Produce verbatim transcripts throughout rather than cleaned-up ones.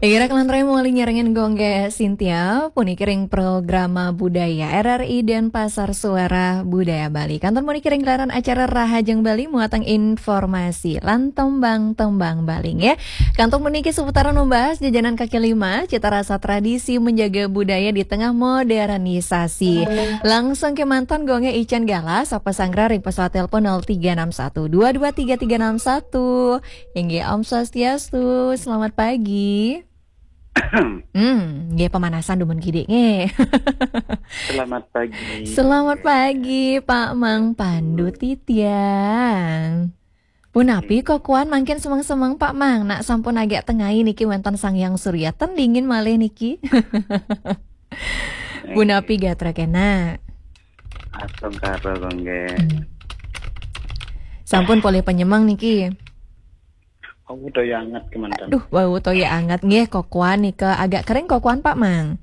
Igira kalantaran mawali nyarengin Gung Gé Cynthia, puniki ring programa budaya R R I Denpasar, Suara Budaya Bali. Kantun puniki ring gelaran acara Rahajeng Bali, muatan informasi lan tembang-tembang Bali, nggih. Kantun puniki seputaran membahas jajanan kaki lima, cita rasa tradisi, menjaga budaya di tengah modernisasi. Langsung kémanten Gung Gé Ican Galah, sapa sanggra ring pesawat telepon nol tiga enam satu dua dua tiga tiga enam satu. Inggih, Om Swastiastu, selamat pagi. Hmm, nggih, pemanasan dumun kidik, nggih. Selamat pagi. Selamat pagi, Pak Mang Pandu Titiang. Punapi kokoan mangkin semeng-semeng, Pak Mang? Nak sampun agak tengai niki wénten Sang Hyang Surya, ten dingin malih niki. Punapi gatra kena? Astungkara, Gung Gé. Hmm. Sampun polih penyemeng niki. Oh, udah anget kémanten. Aduh, wau toya anget nggih, kokoan nika agak kering kokoan, Pak Mang.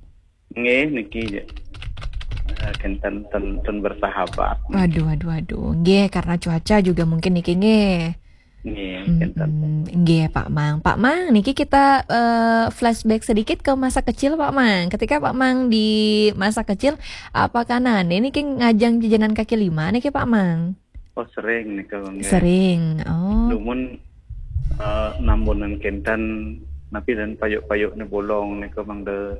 Nggih, niki, eh, kénten ten, ten bersahabat. Waduh, waduh, waduh. Nggih, karena cuaca juga mungkin niki nggih. Nggih, kénten. Mm-mm. Nggih, Pak Mang. Pak Mang, niki kita, eh, flashback sedikit ke masa kecil, Pak Mang. Ketika Pak Mang di masa kecil, apakah nane niki ngajang jajanan kaki lima niki, Pak Mang? Oh, sering nika, Gung Gé. Sering. Oh. Dumun, eh, nambunan kénten, napi dan payuk-payuk ni bolong nika mangda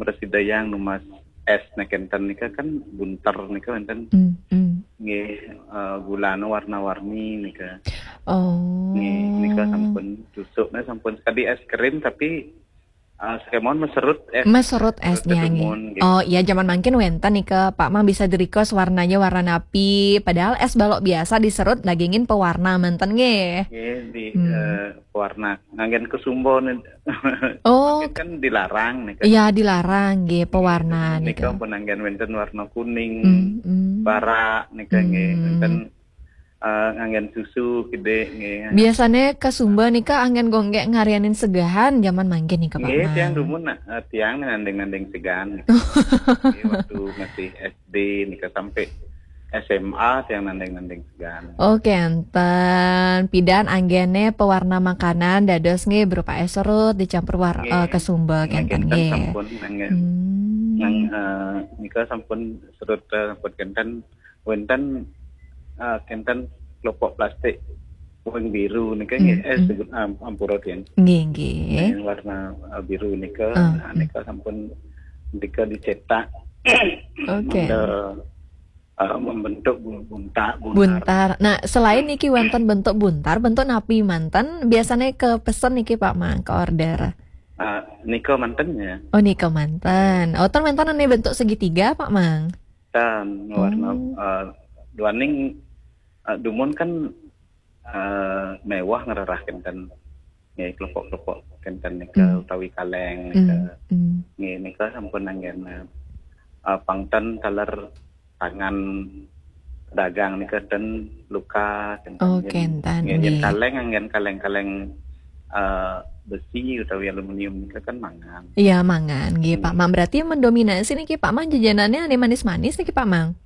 mresidayang numbas es na kénten nika kan bunter nika wénten. Hmm, hmm. Nggih, eh, gulana warna-warni nika. Oh. Nggih, nika sampun tusukna sampun sekadi es krim tapi, eh, sakémaon maserut es. Maserut es nika nggih. Dumun, nggih. Oh, iya, jaman mangkin wénten nika, Pak Mang bisa di-request warnanya warna napi, padahal es balok biasa diserut dagingin pewarna manten nggih. Nggih, di, hmm, eh, pewarna. Nganggén kesumba nih. Oh. Mangkin kan dilarang nih kan. Iya, dilarang nggih, pewarna nika nika. Pun nganggén wénten warna kuning, hmm, hmm, bara nika nggih, hmm, wénten, eh, nganggén susu kidik nggih. Biasane kesumba nika anggén Gung Gé ngarianin segahan jaman mangkin nika, Pak Mang. Nggih, tiang dumun, eh, tiang nanding-nanding segahan. Nggih, waktu masih S D nika sampai S M A tiang nanding-nanding segahan. Oh, kénten. Pidan anggéne pewarna makanan dados nggih berupa es serut dicampur war-, nggih, eh, kesumba nggih, kénten nggih. Sampun nggih. Hmm. Nang, eh, nika sampun serut, eh, sampun kénten wénten, eh, kénten kelopak plastik wing biru nika nggih, hmm, eh, hmm, sebut am-, ampura tiang. Nggih, nggih. Yang warna, eh, biru nika, ah, nah, hmm, nika sampun nika dicetak. Oke. Mangda eh, membentuk bu-, bunta-, buntar. Buntar. Nah, selain niki wonten bentuk buntar, bentuk napi manten biasanya ke pesen niki, Pak Mang, ke order? Eh, nika manten ya. Oh, nika manten. Oh, ten wonten ane bentuk segitiga, Pak Mang? Ten warna, oh, eh, duaning, eh, dumun kan, eh, mewah ngrerah kenten. Nggih, kelopak-kelopak kenten nika, hmm, utawi kaleng nika. Hmm, hmm. Nggih, nika sampun anggén, eh, pangten taler tangan pedagang nika ten luka kenten. Oh, nggih, kenten, nggih, nggih. Kaleng anggén kaleng-kaleng, eh, besi utawi aluminium nika kan mangan. Iya, mangan, nggih, Pak Mang. Berarti mendominasi niki, Pak Mang, jajanannya ane manis-manis niki, Pak Mang?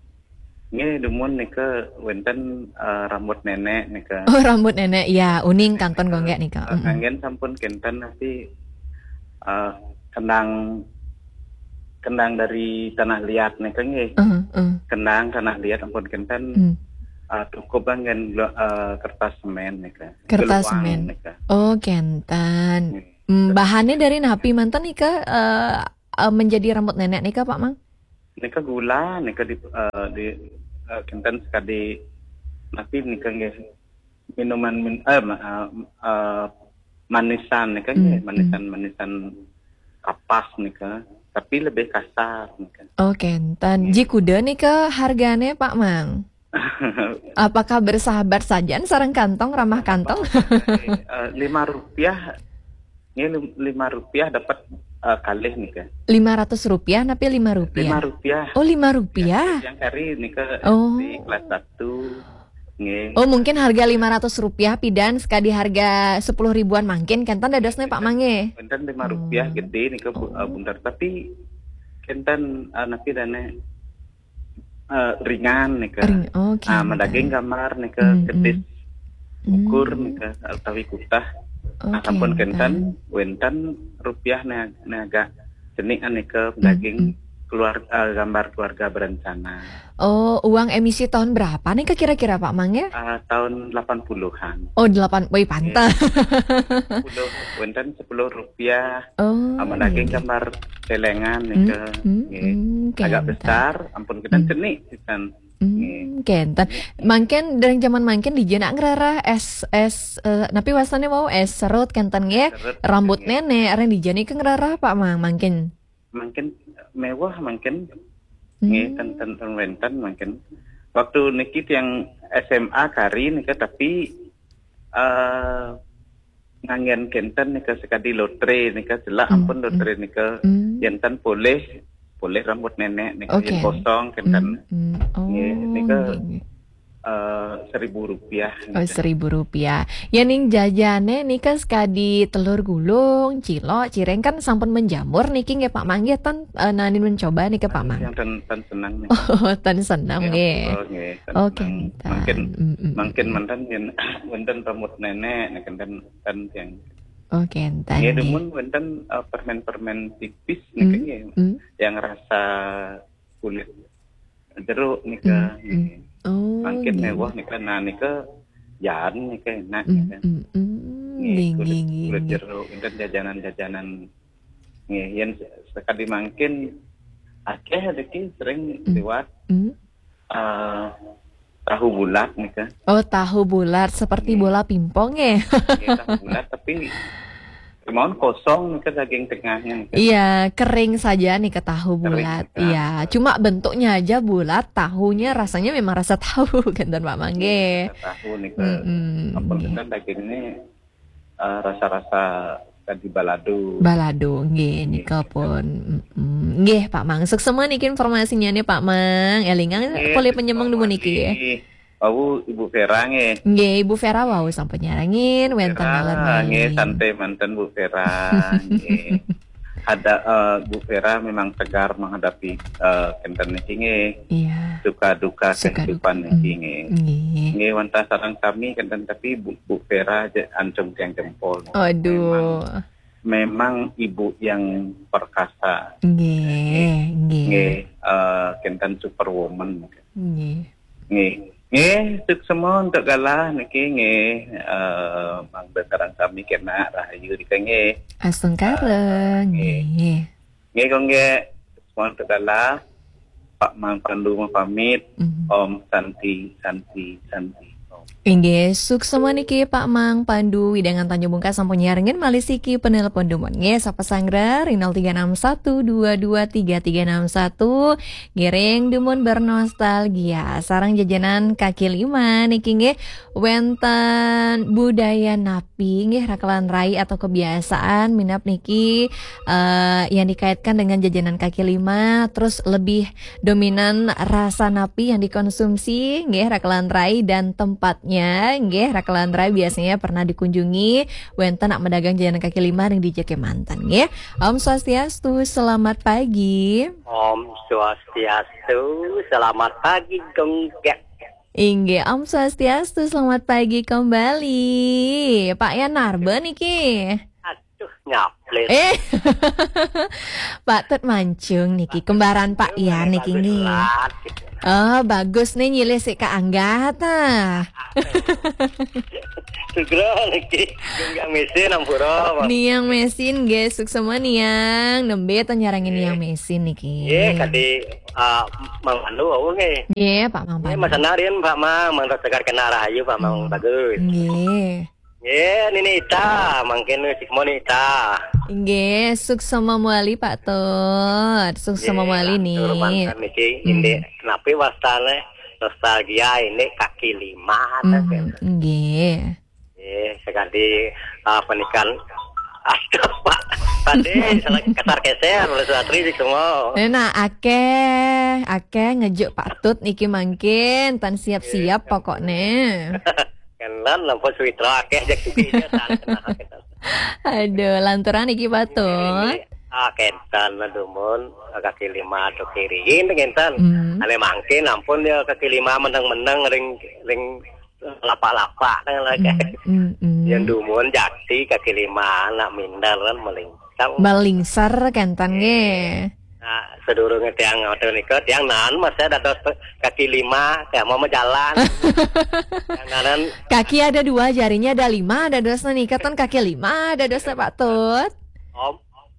Nggih, dumun nika wénten, eh, rambut nenek nika. Oh, rambut nenek, ya, uning kantun gonggek nika. Eh, mm-mm. Anggén sampun kenten tapi, eh, kendang, kendang dari tanah liat nika nggih. Eh, eh. Kendang tanah liat ampun kenten, hmm, eh, cukup anggén gelu-, eh, kertas semen nika. Kertas semen. Geluang nika. Oh, kenten. Nggih. Hmm, bahannya dari napi manten nika, eh, eh, menjadi rambut nenek nika, Pak Mang? Nika gula, nika di, eh, di, eh, kenten sekadi napi nika nggih minuman min-, eh, ma-, eh, eh, manisan nika nggih, hmm, manisan, hmm, manisan kapas nika, tapi lebih kasar nika. Oh, kenten. Nggih. Ji kuda nika hargane, Pak Mang? Apakah bersahabat saja sareng kantong, ramah kantong? Eh, lima rupiah. Ini lim-, lima rupiah dapat, eh, kalih nika. Lima ratus rupiah napi lima rupiah? Lima rupiah. Oh, lima rupiah. Yang kari nika, oh, di kelas satu. Nggih. Oh, mungkin harga lima ratus rupiah pidan sekadi harga sepuluh ribuan mangkin kenten dadosne, Pak Mang, nggih? Kenten lima rupiah, oh, gede nika bu-, eh, buntar. Tapi kenten, eh, napi dane eh, ringan nika. Ring-, oh, ah, kenten. Madaging gambar nika, hmm, kedis, hmm, ukur, hmm, nika, utawi kutah. Nah, sampun kenten, wenten rupiah ne, ne agak cenik nika daging keluar, eh, gambar keluarga berencana. Oh, uang emisi tahun berapa nih kira-kira, Pak Mang, ya? Ah, tahun delapan puluhan. Oh, delapan, woi, pantes. Sepuluh, wenten sepuluh rupiah. Oh, sama daging gambar celengan nika. Agak besar, ampun kita cenik, kenten. Hmm, kenten. Mangkin dari zaman mangkin dijana ngrereh es, es, eh, napi wastane wau, es serut kenten nggih. Serut, rambut nggih. Nenek, areng dijana ke ngrereh, Pak Mang, mangkin. Mangkin mewah mangkin. Nggih, ten, ten, ten wenten mangkin. Waktu niki tiang S M A kari nika, tapi, eh, nganggen kenten nika sekadi lotre nika, jelak ampun lotre nika. Yen ten polih, polih rambut nenek nika, yen kosong kenten. Nggih, nika, eh, seribu rupiah. Oh, seribu rupiah. Ya, ning jajane nika sekadi telur gulung, cilok, cireng kan sampun menjamur niki nggih, Pak Mang, nggih, ten, eh, nanin mencoba nika, Pak Mang. Yang ten, ten senang nih. Oh, ten senang nggih. Betul, nggih, ten senang. Mangkin, mangkin manten yen wenten rambut nenek nika ten, ten yang. Oh, kenten nggih, nggih. Dumun wenten, eh, permen-permen tipis nika nggih. Yang rasa kulit jeruk nika. Oh, mangkin nggih. Mewah nika, nah nika jan nika enak nika. Nggih, nggih, kulit, nggih, kulit jeruk, enten jajanan-jajanan. Nggih, yen se-, sekadi mangkin akeh niki sering liwat, eh, tahu bulat nika. Oh, tahu bulat seperti bola pingpong ya? Nggih, tahu bulat tapi kemauan kosong nika daging tengahnya nika. Iya, kering saja nika tahu bulat. Kering nika. Iya, cuma bentuknya aja bulat, tahunya rasanya memang rasa tahu, kenten Pak Mang nggih. Rasa tahu nika. Ampun kenten dagingnya, eh, rasa-rasa tadi balado. Balado nggih, nika pun. Nggih, Pak Mang. Suksma niki informasinya nih, Pak Mang. Elingang polih penyemeng dumun niki nggih. Wau Ibu Vera nggih. Nggih, Ibu Vera wau sampun nyarengin wenten Vera, nggih, santai manten Bu Vera nggih. Ada, eh, Bu Vera memang tegar menghadapi, eh, kenten niki nggih. Iya. Suka duka kehidupan niki nggih. Nggih. Nggih, wantah sareng kami kenten tapi Bu, Bu Vera aja ancung tiang jempol. Aduh. Memang, memang ibu yang perkasa. Nggih, nggih. Nggih, eh, kenten superwoman. Nggih. Nggih. Nggih, suksma untuk galah niki nggih, eh, mangda sareng sami kena rahayu nika nggih. Astungkara, eh, nggih. Nggih. Nggih, kok nggih, suksma untuk galah. Pak Mang Pandu mau pamit. Om Santi, Santi, Santi. Om. Inggih, suksma niki Pak Mang Pandu, wewidangan Tanjung Bungkas sampun nyarengin malih siki penelpon dumun. Nggih, sapa sanggra ring nol tiga enam satu dua dua tiga tiga enam satu. Ngiring dumun bernostalgia sareng jajanan kaki lima niki nggih, wenten budaya napi nggih, rakelan rai atau kebiasaan minab niki, eh, yang dikaitkan dengan jajanan kaki lima, terus lebih dominan rasa napi yang dikonsumsi nggih, rakelan rai, dan tempatnya nggih, rakelan rai biasanya pernah dikunjungi wenten nak medagang jajanan kaki lima ring dija kemanten nggih. Om Swastiastu, selamat pagi. Om Swastiastu, selamat pagi, Gung Gek. Inggih, Om Swastiastu, selamat pagi kembali. Pak Yan Narba niki. Aduh, nyaplit. Eh, Pak Tut Mancung niki, kembaran Pak Yan niki nggih. Oh, bagus nih, nyilih sik kaanggat ah. Sugra niki, Gung Gek mesin, ampura. Niang mesin nggih, suksma Niang. Nembe to nyarengin Niang mesin niki. Nggih, kadi, ah, Mang Pandu wau nggih. Nggih, Pak Mang Pandu. Nggih, Mas Anarin, Pak Mang, mangda tegar kena rahayu, Pak Mang bagus. Nggih. Nggih, Nini Ita, mangkin suksma Nini Ita. Nggih, suksma mawali Pak Tut. Suksma mawali nih. Nggih, lantur manten niki, indik napi wastane nostalgia indik kaki lima, nggih. Nggih, sekadi, ah, penikan. Aduh, Pak. Tadi salah ketar keser oleh Suatri sih semua. Nah, akeh, akeh ngejuk Pak Tut niki mangkin, tan siap-siap pokokne. Kan lan lampu suwitra akeh jak sugi ya, tan kenal kita. Aduh, lanturan iki Pak Tut. Ah, kenten lah dumun, kaki lima atau kiri. Ini kenten. Ane mangkin ampun ya kaki lima meneng-meneng ring, ring Lapa-lapa kan lah. Hmm, hmm, hmm. Yang dumun jati kaki lima, nak minder kan melingkar. Melingser kenten nggih. Nah, sedurunge tiang ngoten nika, tiang nan masih dados kaki lima, tiang mau menjalan. Yang nanan Kaki ada dua, jarinya ada lima, dadosna nika ten kaki lima, dadosna Pak Tut. Om,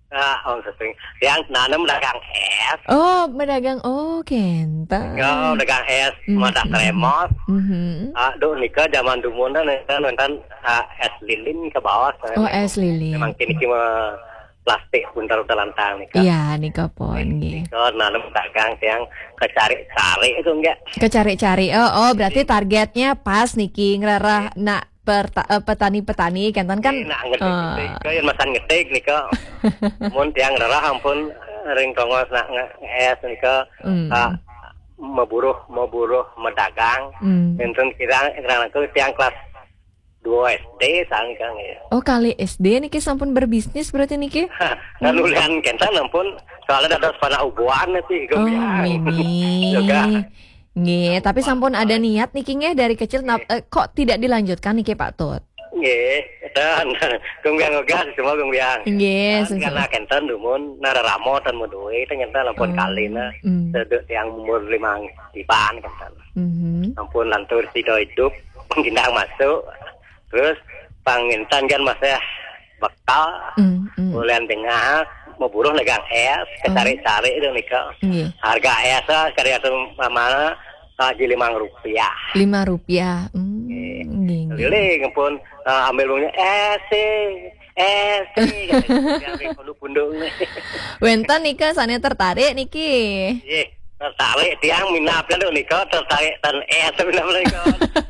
ah, Om Sesing. Tiang nanem dagang es. Oh, pedagang. Oh, kenten. Ya, dagang es, Hmm, madah hmm, teremos. Hmm. Ah, duh, nika zaman dumun kan, kan, kan, ah, es lilin ke bawah. Oh, es lilin. Memang kini cuma plastik buntel telantang nika. Iya, nika pun, nggih. Nika nanem dagang tiang kecari-cari itu enggak. Kecari-cari. Oh, oh, berarti targetnya pas niki ngerarah nak perta-, eh, petani-petani kenten kan. Eh, nak ngetik, eh, ngetik, ke yang masan ngetik nika. Mun tiang rerah ampun ring tongos nak nge-, es nika. Hmm. Ah, meburuh, meburuh, medagang. Hmm. Enten kira, kira aku tiang kelas dua S D sang kang ya. Oh, kali S D niki sampun berbisnis berarti niki? Kan ulian kenten ampun, soalnya ada panak ubuan sih, Oh, gumbiang. Mimi. Juga. Nggih, tapi sampun ada niat niki nggih dari kecil, nap-, eh, kok tidak dilanjutkan niki Pak Tut? Nggih, dan gumbiang ogah semua gumbiang. Nggih, Dan sesuai. Karena kenten dumun, nah reramo dan mudui, ternyata lampun Hmm, kalina, hmm. Sedek tiang umur lima tiban kenten. Mhm. Ampun lantur sida hidup, gendang masuk, terus pangintan kan masih bekal, Hmm, hmm. Bulan tengah, meburuh negang es, Oh. Kecari-cari itu nika. Nggih. Harga es, ah, sekali satu mana, ah, ji limang rupiah. Lima rupiah. Hmm, Nggih. Nggih, nggih. Keliling pun, ah, ambil uangnya, es sih, es sih, kata dia, ambil punduk-punduk. Wenten nika sane tertarik niki. Nggih, tertarik tiang minat kan nika, tertarik dan es minat nika.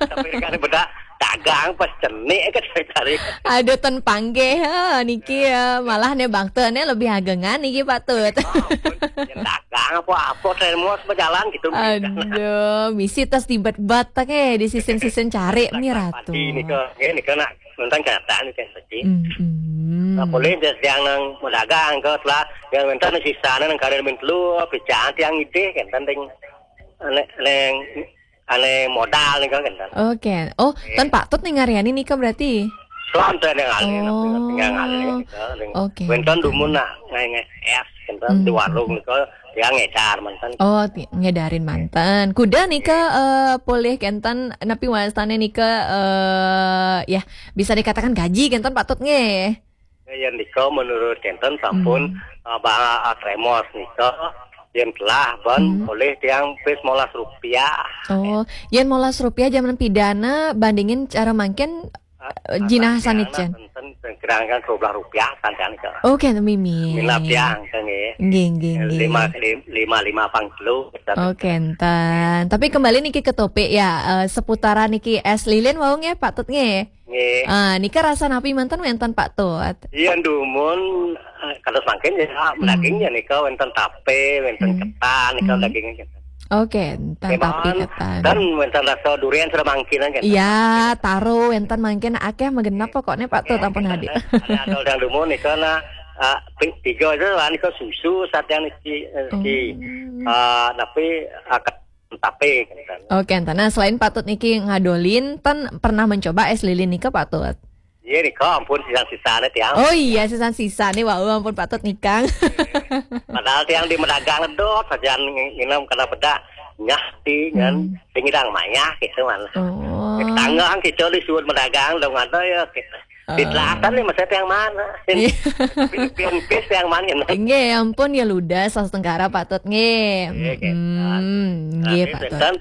Tapi kan bedak dagang pas cenik kan tertarik. Aduh, ten panggih, ha, niki ya. Malah ne bangte ne lebih agengan niki Pak Tut. Oh, ampun. Yang dagang apa-apa, termos berjalan gitu. Aduh, misi tas tibet-bet ke di sisin-sisin cari nih Ratu. Padi nika, nggih nika nak nonton kenyataan nika saja. Hmm, hmm. Nah, boleh dia yang nang medagang ke setelah yang minta nang sisa nang kada min telu, pican tiang idih kan tentang ane, neng, ane modal nih kan. Oke. Oh, Oke. Tan Pak Tut nih ngariani nika berarti? Soal tu yang ngalih, Oh. Tinggal ngalih nika. Oke. Wenten dumun nak ngai-ngai es, kan, Hmm. Di warung nika, tiang ngedar manten. Oh, ti-, ngedarin manten. Kuda nika, Nggih. Eh, polih kenten, napi wastane nika, eh, ya, bisa dikatakan gaji kenten Pak Tut nggih. Ya, yang nika menurut kenten sampun, Hmm. Eh, ba-, ah, tremos nika, yang telah ban Hmm. Oleh tiang pis molas rupiah. Oh, yen molas rupiah zaman pidana bandingin cara mangkin, Ah, eh, jinah sanit jen. Enten gerangkan dua belas rupiah santan ke. Oh, kenten mimi. Minat tiang, kan, nggih. Nggih, nggih, nggih. Lima, lim-, lima, lima pang telu. Oh, kenten. Tapi kembali niki ke topik ya, eh, seputaran niki es lilin wau nggih, Pak Tut nggih. Nggih. Ah, nika rasa napi manten wenten Pak Tut? Iya, dumun, eh, kados mangkin ya, Hmm. Daging ya nika wenten tape, wenten Hmm. Ketan, nika Hmm. Daging. Oke, enten tape ketan. Dan wenten rasa durian sudah mangkin kan. Iya, taro wenten mangkin akeh magenep pokoknya Pak Tut ampun hadir. Ada, ada yang dumun nika nah, ah, pi-, tiga aja lah nika susu, saat yang niki, eh, Oh. Niki, ah, tapi, ah, ket-, tape kan. Oke, enten. Nah, selain Pak Tut niki ngadolin, ten pernah mencoba es lilin nika Pak Tut? Iya nika ampun sisa-sisane tiang. Oh iya, sisa-sisane wau ampun Pak Tut nikang. Padahal tiang di medagang ledot saja ng-, nginem kena bedak nyah ti kan Hmm. Sing idang mayah gitu man. Oh. Tangga kita disuruh medagang dong ada ya gitu. Di Oh. Selatan nih masa tiang mana? Iya. Pin-, pin-, pis tiang mana? Nggih, ampun ya ludas sas tengkara Pak Tut nggih. Iya, gitu. Hmm, nggih Pak Tut. Tapi